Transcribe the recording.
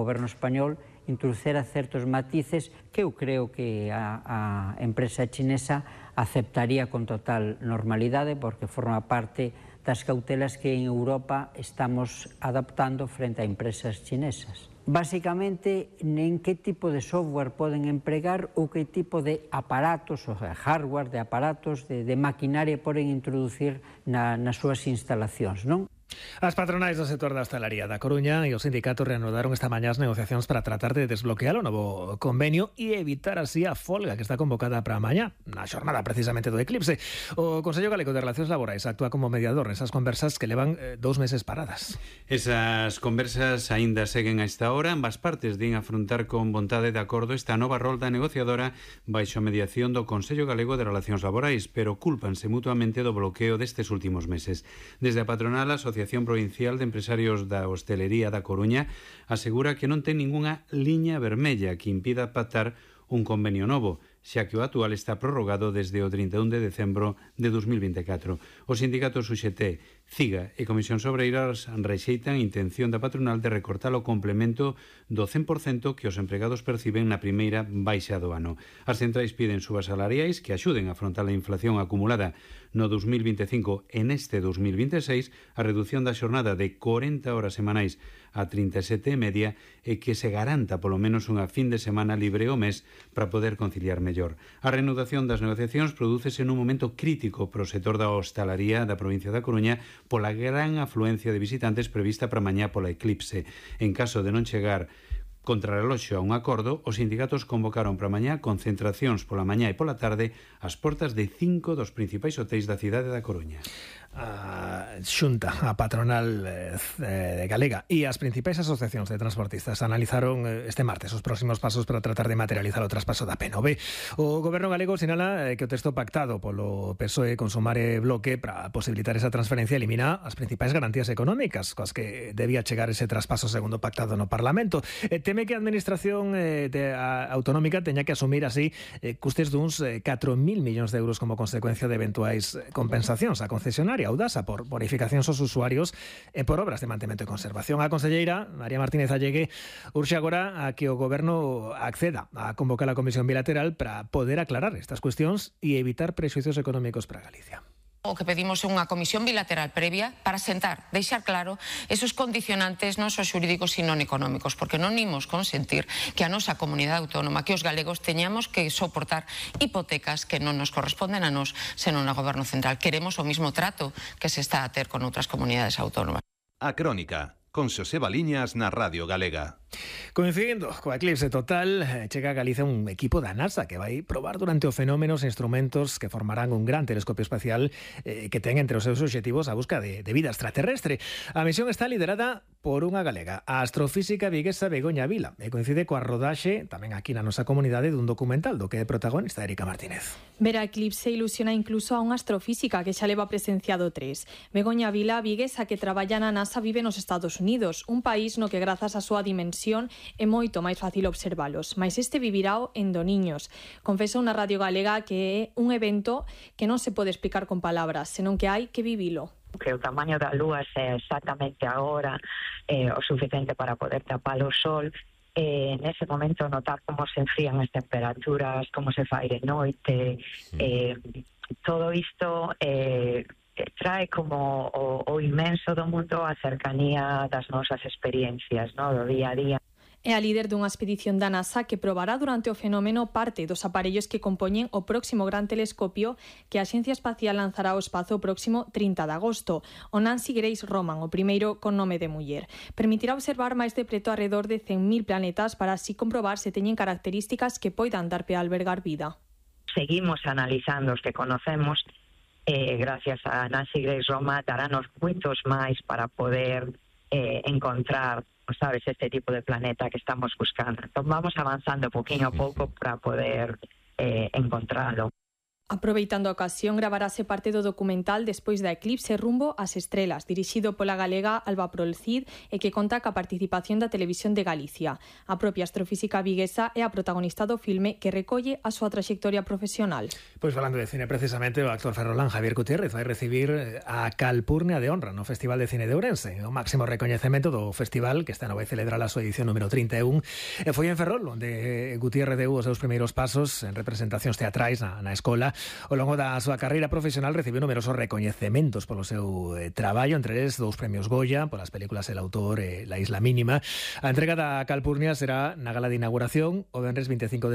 goberno español introducera certos matices que eu creo que a empresa chinesa aceptaría con total normalidade, porque forma parte das cautelas que en Europa estamos adaptando frente a empresas chinesas. Básicamente, en que tipo de software poden empregar ou que tipo de aparatos, ou hardware, de aparatos, de maquinaria poden introducir nas súas instalacións, non? As patronais do sector da hostalería da Coruña e os sindicatos reanudaron esta mañá as negociacións para tratar de desbloquear o novo convenio e evitar así a folga que está convocada para mañá, na xornada precisamente do eclipse. O Consello Galego de Relacións Laborais actúa como mediador nesas conversas que levan 2 meses paradas. Esas conversas aínda seguen a esta hora. Ambas partes din afrontar con vontade de acordo esta nova rolda negociadora baixo a mediación do Consello Galego de Relacións Laborais, pero cúlpanse mutuamente do bloqueo destes últimos meses. Desde a patronal, a Asociación Provincial de Empresarios da Hostelería da Coruña asegura que non ten ningunha liña vermella que impida pactar un convenio novo, xa que o actual está prorrogado desde o 31 de decembro de 2024. Os sindicatos UGT, CIGA e Comisións Obreiras rexeitan a intención da patronal de recortar o complemento do 100% que os empregados perciben na primeira baixa do ano. As centrais piden subas salariais que axuden a afrontar a inflación acumulada no 2025 e neste 2026, a redución da xornada de 40 horas semanais a 37 e media e que se garanta polo menos unha fin de semana libre ao mes para poder conciliar mellor. A reanudación das negociacións prodúcese nun momento crítico pro sector da hostalaría da provincia da Coruña pola gran afluencia de visitantes prevista para mañá pola eclipse. En caso de non chegar contrarreloxo a un acordo, os sindicatos convocaron para mañá concentracións pola mañá e pola tarde ás portas de 5 dos principais hotéis da cidade da Coruña. A Xunta, a patronal galega e as principais asociacións de transportistas analizaron este martes os próximos pasos para tratar de materializar o traspaso da PNV. O goberno galego sinala que o texto pactado polo PSOE con Sumar e Bloque para posibilitar esa transferencia elimina as principais garantías económicas coas que debía chegar ese traspaso segundo pactado no Parlamento. Teme que a administración autonómica teña que asumir así custes duns 4.000 millóns de euros como consecuencia de eventuais compensacións a concesionaria Audasa por bonificacións aos usuarios e por obras de mantemento e conservación. A conselleira María Martínez Allegue urxe agora a que o goberno acceda a convocar a comisión bilateral para poder aclarar estas cuestións e evitar prexuicios económicos para Galicia. O que pedimos é unha comisión bilateral previa para sentar, deixar claro esos condicionantes non só xurídicos sino económicos, porque non imos consentir que a nosa comunidade autónoma, que os galegos teñamos que soportar hipotecas que non nos corresponden a nós, senón ao goberno central. Queremos o mismo trato que se está a ter con outras comunidades autónomas. A Crónica, con Xoseba Liñas na Radio Galega. Coincidindo coa eclipse total, chega a Galicia un equipo da NASA que vai probar durante o fenómeno os instrumentos que formarán un gran telescopio espacial que ten entre os seus obxectivos a busca de vida extraterrestre. A misión está liderada por unha galega, a astrofísica viguesa Begoña Vila, e coincide coa rodaxe, tamén aquí na nosa comunidade, dun documental do que é protagonista Erika Martínez. Ver a eclipse ilusiona incluso a unha astrofísica que xa leva presenciado 3. Begoña Vila, viguesa que traballa na NASA, vive nos Estados Unidos, un país no que grazas á súa dimensión é moito máis fácil observalos, mas este vivirao en Doniños. Confesou na Radio Galega que é un evento que non se pode explicar con palabras, senón que hai que vivilo. Que o tamaño da lúa é exactamente agora o suficiente para poder tapar o sol, nese momento notar como se enfrían as temperaturas, como se fai de noite, todo isto trae como o inmenso do mundo a cercanía das nosas experiencias, no, do día a día. É a líder dunha expedición da NASA que probará durante o fenómeno parte dos aparellos que compoñen o próximo gran telescopio que a Axencia Espacial lanzará ao espazo o próximo 30 de agosto. O Nancy Grace Roman, o primeiro con nome de muller. Permitirá observar máis de preto alrededor de 100.000 planetas para así comprobar se teñen características que poidan dar pé a albergar vida. Seguimos analizando os que conocemos, gracias a Nancy Grace Roman darános moitos máis para poder encontrar, sabes, este tipo de planeta que estamos buscando. Entonces vamos avanzando poquinho a pouco para poder encontrarlo. Aproveitando a ocasión, gravarase parte do documental Despois da eclipse rumbo ás estrelas, dirixido pola galega Alba Prolcid e que conta ca participación da Televisión de Galicia. A propia astrofísica viguesa é a protagonista do filme que recolle a súa traxectoria profesional. Pois falando de cine, precisamente, o actor ferrolán Javier Gutiérrez vai recibir a Calpurnia de Honra no Festival de Cine de Ourense, o máximo recoñecemento do festival que esta nova vai celebrar a súa edición número 31. E foi en Ferrol onde Gutiérrez deu os seus primeiros pasos en representacións teatrais na escola. Ao longo da súa carreira profesional recibiu numerosos recoñecementos polo seu traballo, entre eles 2 premios Goya polas películas El autor e La isla mínima. A entrega da Calpurnia será na gala de inauguración o venres 25 de